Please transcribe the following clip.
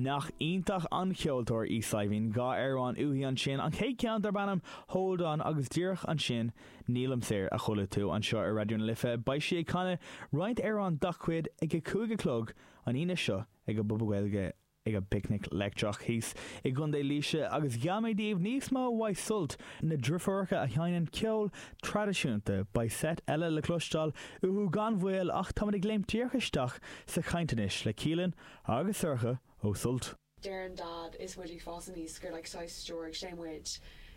Nach iontach an cheoltóir í Saidhbhín, 2 amhrán uaithi ansin, an chéad ceann darb ainm Hold On agus díreach ansin Nílim Saor a chuala tú anseo ar Raidió na Life. Beidh sí ag canadh roinnt amhrán dá cuid ag a 5 a chlog an Aoine seo ag an bPuball Gaeilge ag an bPicnic Leictreach thíos i gContae Laoise agus gheall mé daoibh níos mó uaidh Sult, na driofúracha a sheinneann ceol traidisiúnta. Beidh seit eile le cloisteáil uathu gan mhoill ach táimid ag léimt díreach isteach sa chaint anois le Keelin agus Sorcha ó Sult. Deireann Dad is muid ag fás aníos gur like saghas stiúraigh sé muid.